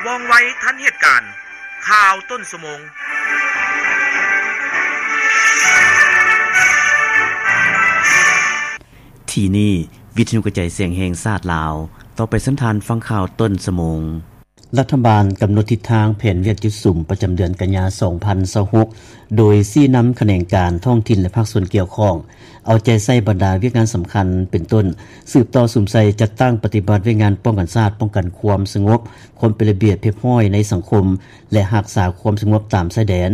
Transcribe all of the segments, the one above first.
ວ່ອງໄວທັນເຫດການ. ຂ່າວຕົ້ນຊົ່ວໂມງ. ທີ່ນີ້ ວິທະຍຸກະຈາຍສຽງແຫ່ງຊາດລາວ. ຕໍ່ໄປເຊີນທ່ານຟັງຂ່າວຕົ້ນຊົ່ວໂມງ. ລັດຖະບານກຳນົດທິດທາງແຜນວຽກຈຸດສຸມປະຈຳເດືອນກັນຍາ ສອງພັນຊາວຫົກ ໂດຍຊີ້ນຳຂະແໜງການທ້ອງຖິ່ນ ແລະ ພາກສ່ວນກ່ຽວຂ້ອງ ເອົາໃຈໃສ່ບັນດາວຽກງານສຳຄັນ ເປັນຕົ້ນ ສືບຕໍ່ສຸມໃສ່ຈັດຕັ້ງປະຕິບັດວຽກງານປ້ອງກັນຊາດ, ປ້ອງກັນຄວາມສະຫງົບ, ຄວາມເປັນລະບຽບຮຽບຮ້ອຍໃນສັງຄົມ ແລະ ຮັກສາຄວາມສະຫງົບຕາມຊາຍແດນ,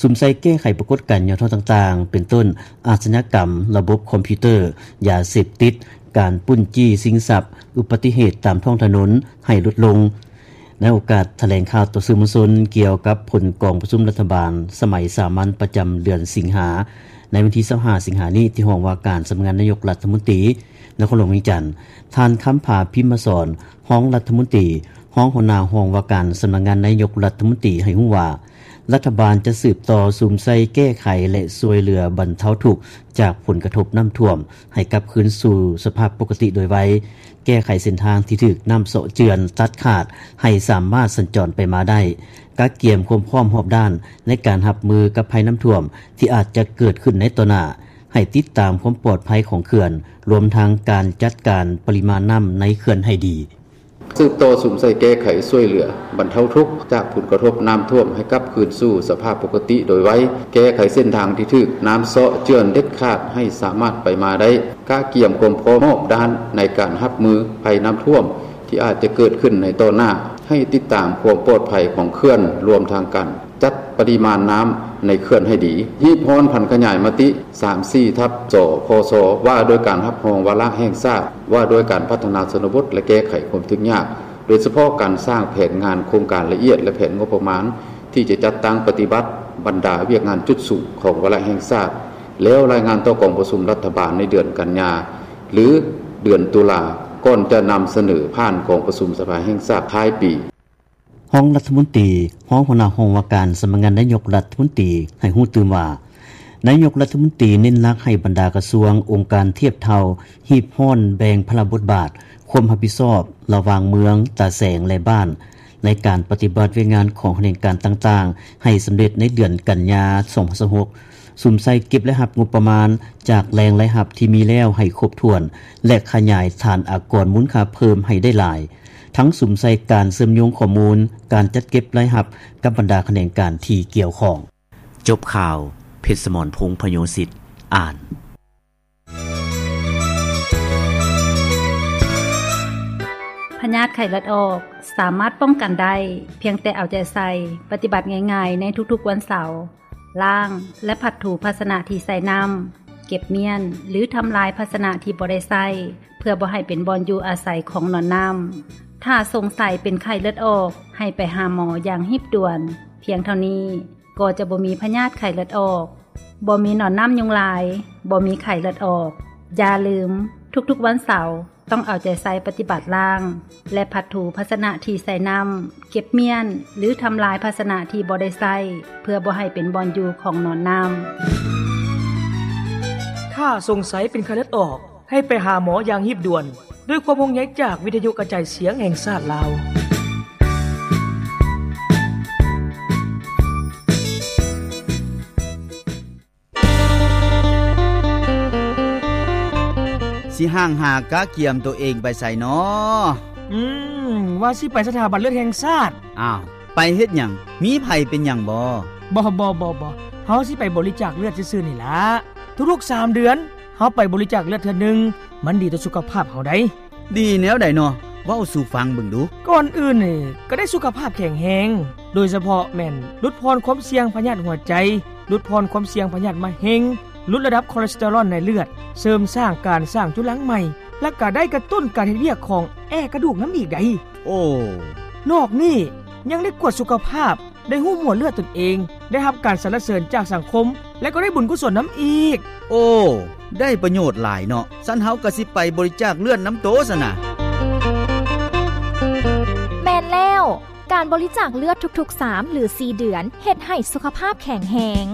ສຸມໃສ່ແກ້ໄຂປາກົດການຫຍໍ້ທໍ້ຕ່າງໆ ເປັນຕົ້ນ ອາຊະຍາກຳ, ລະບົບຄອມພິວເຕີ, ຢາເສບຕິດ, ການປຸ້ນຈີ້ຊິງຊັບ, ອຸບັດຕິເຫດຕາມທ້ອງຖະໜົນໃຫ້ຫຼຸດລົງ. ໃນໂອກາດຖະແຫຼງຂ່າວຕໍ່ສື່ມວນຊົນກ່ຽວກັບຜົນກອງປະຊຸມລັດຖະບານສະໄໝສາມັນປະຈຳເດືອນສິງຫາ ໃນວັນທີ ຊາວຫ້າ ສິງຫານີ້ ທີ່ຫ້ອງວ່າການສຳນັກງານນາຍົກລັດຖະມົນຕີ ນະຄອນຫຼວງວຽງຈັນ, ທ່ານ ຄຳຜາ ພິມມະສອນ ຮອງລັດຖະມົນຕີ ຮອງຫົວໜ້າຫ້ອງວ່າການສຳນັກງານນາຍົກລັດຖະມົນຕີ ໃຫ້ຮູ້ວ່າ ລັດຖະບານຈະສືບຕໍ່ສຸມໃສ່ແກ້ໄຂ ແລະ ຊ່ວຍເຫຼືອບັນເທົາທຸກຈາກຜົນກະທົບນ້ຳຖ້ວມ ໃຫ້ກັບຄືນສູ່ສະພາບປົກກະຕິໂດຍໄວ, ແກ້ໄຂເສັ້ນທາງທີ່ຖືກນ້ຳເຊາະເຈື່ອນຕັດຂາດ ໃຫ້ສາມາດສັນຈອນໄປມາໄດ້, ກະກຽມຄວາມພ້ອມຮອບດ້ານໃນການຮັບມືກັບໄພນ້ຳຖ້ວມທີ່ອາດຈະເກີດຂຶ້ນໃນຕໍ່ໜ້າ, ໃຫ້ຕິດຕາມຄວາມປອດໄພຂອງເຂື່ອນ, ລວມທັງການຈັດການປະລິມານນ້ຳໃນເຂື່ອນໃຫ້ດີ. ສືບຕໍ່ສຸມໃສ່ແກ້ໄຂຊ່ວຍເຫຼືອບັນເທົາທຸກຈາກຜົນກະທົບນ້ຳຖ້ວມໃຫ້ກັບຄືນສູ່ສະພາບປົກກະຕິໂດຍໄວ, ແກ້ໄຂເສັ້ນທາງທີ່ຖືກນ້ຳເຊາະເຈື່ອນເດັດຂາດໃຫ້ສາມາດໄປມາໄດ້, ກະກຽມຄວາມພ້ອມຮອບດ້ານໃນການຮັບມືໄພນ້ຳຖ້ວມທີ່ອາດຈະເກີດຂຶ້ນໃນຕໍ່ໜ້າ, ໃຫ້ຕິດຕາມຄວາມປອດໄພຂອງເຂື່ອນ, ລວມທັງການ ຈັດປະລິມານນ້ຳໃນເຂື່ອນໃຫ້ດີ. ຮີບຮ້ອນຜັນຂະຫຍາຍມະຕິ ສາມສີ່ ທັບ ສພຊ ວ່າດ້ວຍການຮັບຮອງວາລະແຫ່ງຊາດ ວ່າດ້ວຍການພັດທະນາຊົນນະບົດ ແລະ ແກ້ໄຂຄວາມທຸກຍາກ, ໂດຍສະເພາະການສ້າງແຜນງານໂຄງການລະອຽດ ແລະ ແຜນງົບປະມານທີ່ຈະຈັດຕັ້ງປະຕິບັດບັນດາວຽກງານຈຸດສຸມຂອງວາລະແຫ່ງຊາດ, ແລ້ວລາຍງານຕໍ່ກອງປະຊຸມລັດຖະບານໃນເດືອນກັນຍາ ຫຼື ເດືອນຕຸລາ, ກ່ອນຈະນຳສະເໜີຜ່ານກອງປະຊຸມສະພາແຫ່ງຊາດທ້າຍປີ. ຮອງລັດຖະມົນຕີ, ຮອງຫົວໜ້າຫ້ອງວ່າການສຳນັກງານນາຍົກລັດຖະມົນຕີ ໃຫ້ຮູ້ຕື່ມວ່າ ນາຍົກລັດຖະມົນຕີເນັ້ນຫຼັກໃຫ້ບັນດາກະຊວງ, ອົງການທຽບເທົ່າ, ຮີບຮ້ອນແບ່ງພາລະບົດບາດ, ຄວາມຮັບຜິດຊອບລະຫວ່າງເມືອງ, ຕາແສງ ແລະ ບ້ານ ໃນການປະຕິບັດວຽກງານຂອງຂະແໜງການຕ່າງໆ ໃຫ້ສຳເລັດໃນເດືອນກັນຍາ ສອງພັນຊາວຫົກ, ສຸມໃສ່ເກັບລາຍຮັບງົບປະມານຈາກແຫຼ່ງລາຍຮັບທີ່ມີແລ້ວໃຫ້ຄົບຖ້ວນ ແລະ ຂະຫຍາຍຖານອາກອນມູນຄ່າເພີ່ມໃຫ້ໄດ້ຫຼາຍ. ທັງສຸມໃສ່ການເຊື່ອມໂຍງຂໍ້ມູນການຈັດເກັບລາຍຮັບກັບບັນດາຂະແໜງການທີ່ກ່ຽວຂ້ອງ. ຈົບຂ່າວ, ເພັດສະໝອນ ພົງພະໂຍສິດ ອ່ານ. ພະຍາດໄຂ້ເລືອດອອກສາມາດປ້ອງກັນໄດ້ ພຽງແຕ່ເອົາໃຈໃສ່ປະຕິບັດງ່າຍໆໃນທຸກໆວັນເສົາ. ລ້າງ ແລະ ຜັດຖູພາຊະນະທີ່ໃສ່ນ້ຳ, ເກັບມ້ຽນ ຫຼື ທຳລາຍພາຊະນະທີ່ບໍ່ໄດ້ໃຊ້ ເພື່ອບໍ່ໃຫ້ເປັນບ່ອນຢູ່ອາໄສຂອງໜອນນ້ຳ. ຖ້າສົງໄສເປັນໄຂ້ເລືອດອອກ, ໃຫ້ໄປຫາໝໍຢ່າງຮີບດ່ວນ. ພຽງເທົ່ານີ້ກໍຈະບໍ່ມີພະຍາດໄຂ້ເລືອດອອກ, ບໍ່ມີໜອນນ້ຳຍຸງລາຍ, ບໍ່ມີໄຂ້ເລືອດອອກ. ຢ່າລືມ, ທຸກໆວັນເສົາ ຕ້ອງເອົາໃຈໃສ່ປະຕິບັດລ້າງ ແລະ ຜັດຖູພາຊະນະທີ່ໃສ່ນ້ຳ, ເກັບມ້ຽນ ຫຼື ທຳລາຍພາຊະນະທີ່ບໍ່ໄດ້ໃຊ້ ເພື່ອບໍ່ໃຫ້ເປັນບ່ອນຢູ່ຂອງໜອນນ້ຳ. ຖ້າສົງໄສເປັນໄຂ້ເລືອດອອກ, ໃຫ້ໄປຫາໝໍຢ່າງຮີບດ່ວນ. ດ້ວຍຄວາມຫ່ວງໃຍຈາກວິທະຍຸກະຈາຍສຽງແຫ່ງຊາດລາວ. ຊິຫ່າງຫາກະກຽມໂຕເອງໄປໃສນໍ? ອືມ, ວ່າຊິໄປສະຖາບັນເລືອດແຫ່ງຊາດ. ອ້າວ, ໄປເຮັດຫຍັງ? ມີໃຜເປັນຫຍັງບໍ? ບໍ່, ບໍ່, ບໍ່, ບໍ່. ເຮົາຊິໄປບໍລິຈາກເລືອດຊື່ໆນີ້ລະ. ທຸກໆສາມເດືອນ, ເຮົາໄປບໍລິຈາກເລືອດເທື່ອໜຶ່ງ, ມັນດີຕໍ່ສຸຂະພາບເຮົາໃດ໋. ດີແນວໃດນໍ? ເວົ້າສູ່ຟັງເບິ່ງດູ. ກ່ອນອື່ນນີ້ ກໍໄດ້ສຸຂະພາບແຂງແຮງ, ໂດຍສະເພາະແມ່ນຫຼຸດຜ່ອນຄວາມສ່ຽງພະຍາດຫົວໃຈ, ຫຼຸດຜ່ອນຄວາມສ່ຽງພະຍາດມະເຮັງ, ຫຼຸດລະດັບຄໍເລສເຕີຣອນໃນເລືອດ, ເສີມສ້າງການສ້າງຈຸລັງໃໝ່, ແລະ ກໍໄດ້ກະຕຸ້ນການເຮັດວຽກຂອງແອກະດູກນຳອີກໃດ໋. ໂອ້. ນອກນີ້ຍັງໄດ້ກວດສຸຂະພາບ, ໄດ້ຮູ້ໝວດເລືອດຕົນເອງ, ໄດ້ຮັບການສັນລະເສີນຈາກສັງຄົມ ແລະ ກໍໄດ້ບຸນກຸສົນນຳອີກ. ໂອ້, ໄດ້ປະໂຫຍດຫຼາຍເນາະ. ຊັ້ນເຮົາກໍຊິໄປບໍລິຈາກເລືອດນຳໂຕຊັ້ນນະ. ແມ່ນແລ້ວ, ການບໍລິຈາກເລືອດທຸກໆສາມ ຫຼື ສີ່ເດືອນ ເຮັດໃຫ້ສຸຂະພາບແຂງແຮງ.